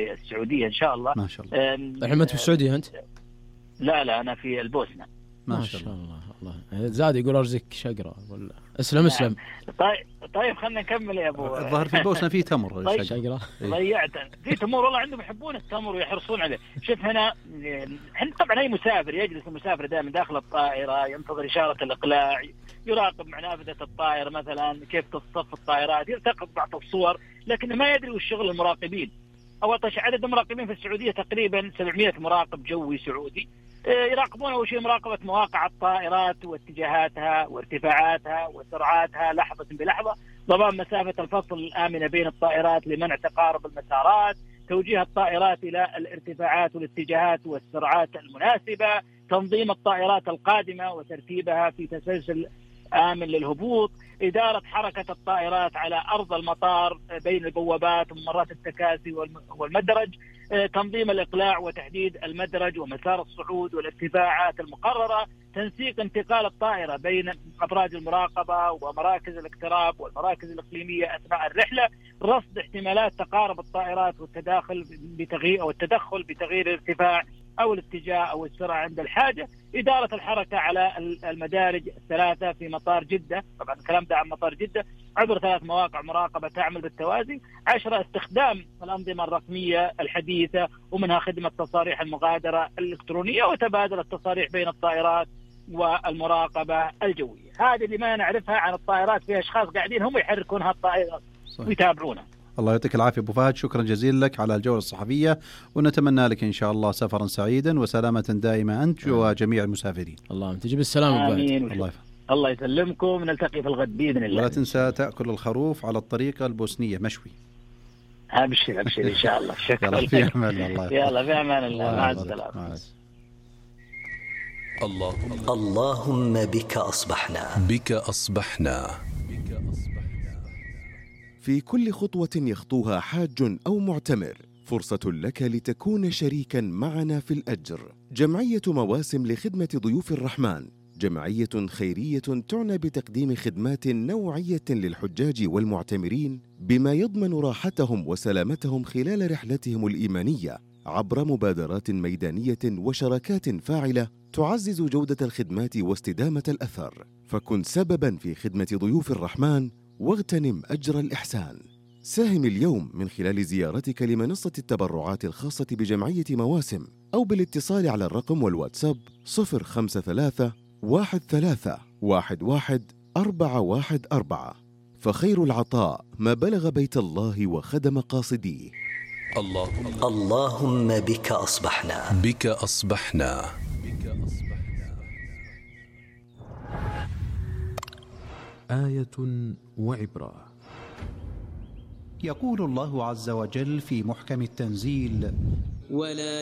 السعودية إن شاء الله. ما شاء الله. الحين أنت في السعودية أنت؟ لا أنا في البوسنة. ما شاء الله. الله زاد يقول أرزك شقرة ولا اسلم. طيب خلنا نكمل يا أبو. الظاهر في البوسنة فيه تمر. طيب شقرة ضيعت في تمر والله، عندهم يحبون التمر ويحرصون عليه. شوف هنا طبعا أي مسافر يجلس المسافر دائما داخل الطائرة ينتظر إشارة الإقلاع، يراقب مع نافذة الطائرة مثلا كيف تصطف الطائرات، يلتقط بعض الصور، لكن ما يدري وش شغل المراقبين. أول شيء عدد المراقبين في السعودية تقريبا 700 مراقب جوي سعودي، يراقبون أول شيء مراقبة مواقع الطائرات واتجاهاتها وارتفاعاتها وسرعاتها لحظة بلحظة، ضمان مسافة الفصل الآمنة بين الطائرات لمنع تقارب المسارات، توجيه الطائرات إلى الارتفاعات والاتجاهات والسرعات المناسبة، تنظيم الطائرات القادمة وترتيبها في تسلسل آمن للهبوط، إدارة حركة الطائرات على أرض المطار بين البوابات وممرات التكاسي والمدرج، تنظيم الإقلاع وتحديد المدرج ومسار الصعود والارتفاعات المقررة، تنسيق انتقال الطائرة بين أبراج المراقبة ومراكز الاقتراب والمراكز الإقليمية أثناء الرحلة، رصد احتمالات تقارب الطائرات والتدخل بتغيير الارتفاع أو الاتجاه أو السرعة عند الحاجة، إدارة الحركة على المدارج الثلاثة في مطار جدة، طبعا الكلام ده عن مطار جدة، عبر 3 مواقع مراقبة تعمل بالتوازي. 10 استخدام الأنظمة الرقمية الحديثة ومنها خدمة تصاريح المغادرة الإلكترونية وتبادل التصاريح بين الطائرات والمراقبة الجوية. هذه اللي ما نعرفها عن الطائرات، فيها أشخاص قاعدين هم يحركون هالطائرات ويتابعونها. الله يعطيك العافية أبو فهد، شكرا جزيلا لك على الجولة الصحفية، ونتمنى لك إن شاء الله سفرا سعيدا وسلامة دائمة أنت وجميع المسافرين. الله تجيب السلامة. آمين. الله يسلمكم، نلتقي في الغد بإذن الله. ولا تنسى تأكل الخروف على الطريقة البوسنية مشوي. أبشر إن شاء الله. شكرا. يلا في أمان الله. يلا في أمان الله. مع السلامة. اللهم بك أصبحنا. في كل خطوة يخطوها حاج أو معتمر فرصة لك لتكون شريكاً معنا في الأجر. جمعية مواسم لخدمة ضيوف الرحمن جمعية خيرية تعنى بتقديم خدمات نوعية للحجاج والمعتمرين بما يضمن راحتهم وسلامتهم خلال رحلتهم الإيمانية عبر مبادرات ميدانية وشراكات فاعلة تعزز جودة الخدمات واستدامة الأثر. فكن سبباً في خدمة ضيوف الرحمن واغتنم أجر الإحسان. ساهم اليوم من خلال زيارتك لمنصة التبرعات الخاصة بجمعية مواسم أو بالاتصال على الرقم والواتساب 053 13 11 414. فخير العطاء ما بلغ بيت الله وخدم قاصديه. اللهم بك أصبحنا. آية وعبرة. يقول الله عز وجل في محكم التنزيل: ولا